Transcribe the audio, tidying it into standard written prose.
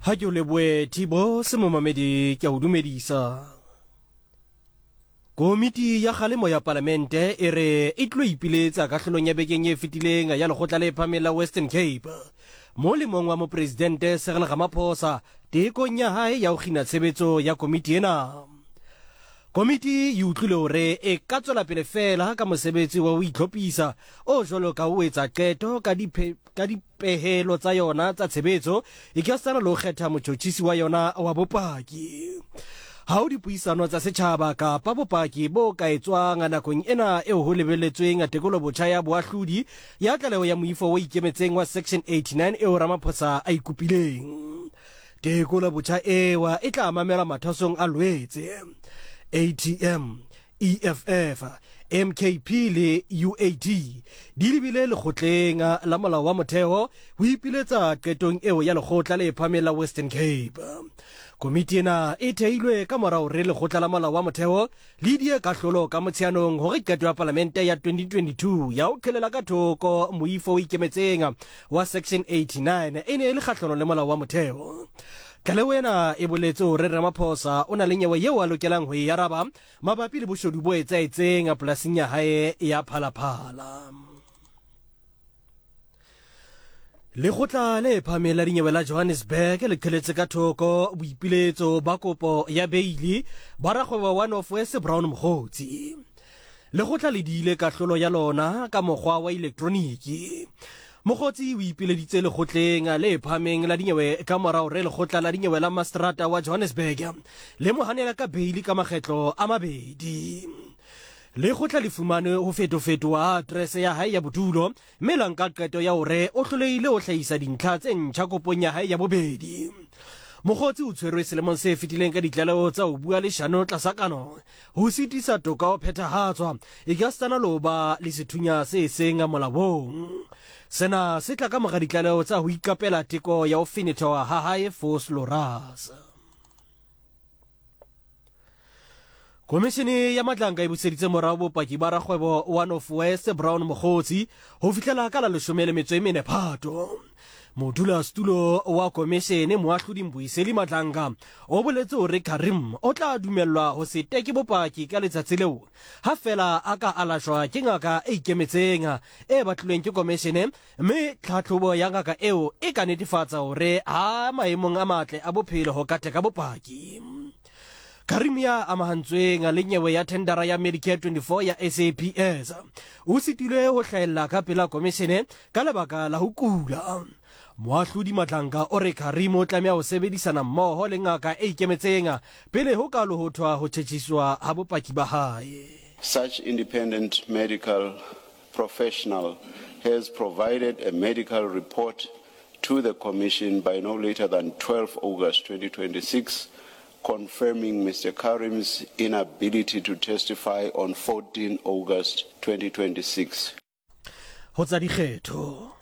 Ha ke o leboe Thibo semomamedi ke a o dumedisa. Komiti ya kgalemo ya palamente e re e tlo ipiletsa kahlolong ya bekeng e fetileng ya lekgotla le phahameng la Western Cape mo lemong wa mopresidente Cyril Ramaphosa tekong ya hae ya ho kgina tshebetso ya komiti ena. Komiti e utlwile hore e ka tswela pele feela ka mosebetsi wa ho itlhophisa o jwalo ka ho etsa qeto ka ka dipehelo tsa yona tsa tshebetso e ka sala le ho kgetha motjhotjhisi wa yona wa bopaki. Ha ho dipuisano tsa setjhaba kapa bopaki bo ka etswang nakong ena eo ho lebelletsweng tekolobotjha ya boahlodi ya tlaleho ya moifo o ikemetseng wa Section 89 eo Ramaphosa a e kopileng. Tekolobotjha ewa e tla mamelwa mathwasong a Lwetse. ATM, EFF, MKP le UAD di lebile lekgotleng la molao wa motheo ho ipiletsa qetong eo ya lekgotla le phahameng la Western Cape. Komiti ena e theilwe ka mora hore lekgotla la molao wa motheo le die kahlolo ka Motsheanong hore qeto ya palamente ya 2022 ya ho qhelela ka thoko moifo o ikemetseng wa Section 89 e ne e le kgahlano le molao wa motheo. Tlaleho ena e boletse hore Ramaphosa o na le nyewe yeo a lokelang ho e araba mabapi le boshodu bo etsahetseng polasing ya hae ya Phalaphala. Lekgotla le phahameng la dinyewe la Johannesburg le qheletse ka thoko boipiletso ba kopo ya beili ba rakgwebo wa North West Brown Mogotsi. Lekgotla le diile kahlolo ya lona ka mokgwa wa elektroniki. Mogotsi o ipileditse lekgotleng le phahameng la dinyewe ka mora hore lekgotla la dinyewe la mastrata wa Johannesburg le mo hanela ka beili ka makgetlo a mabedi. Lekgotla le fumane ho fetofetoha ha aterese ya hae ya bodulo mme la nka qeto ya hore o hlolehile ho hlahisa dintlha tse ntjha kopong ya hae ya bobedi. Mokgotsi o tshwerwe selemong se fetileng ka ditlaleho tsa ho bua leshano tlasa kano, ho sitisa toka ho phethahatswa, ekasitana le ho ba le sethunya se seng molaong. Sena se tla ka mora ditlaleho tsa ho iqapela teko ya ho fenethwa ha hae Vosloorus. Komishene ya Matlanka e buseditse morao bopaki ba rakgwebo wa North West Brown Mogotsi ho fihlela ka la 14 Phato. Modulasetulo wa komishene Moahlodi Mbuyiseli Madlanga o boletse hore Karim o tla dumellwa ho se teke bopaki ka letsatsi leo ha feela a ka alashwa ke ngaka e ikemetseng e batlilweng ke komishene Mme tlhahlobo ya ngaka eo e ka netefatsa hore ha maemong a matle a bophelo ho ka teka bopaki. Karim ya amahantsweng le nyewe ya thendara ya Medicare 24 ya SAPS o sitilwe ho hlahella ka pela komishene ka lebaka la ho kula. Moahlodi Matlanka o re Karim o tlameha ho sebedisana mmoho le ngaka e ikemetseng pele ho ka lohothwa ho tjhetjhiswa ha bopaki ba hae. Such independent medical professional has provided a medical report to the Commission by no later than 12 August 2026, confirming Mr. Carrim's inability to testify on 14 August 2026. Ho tsa dikgetho.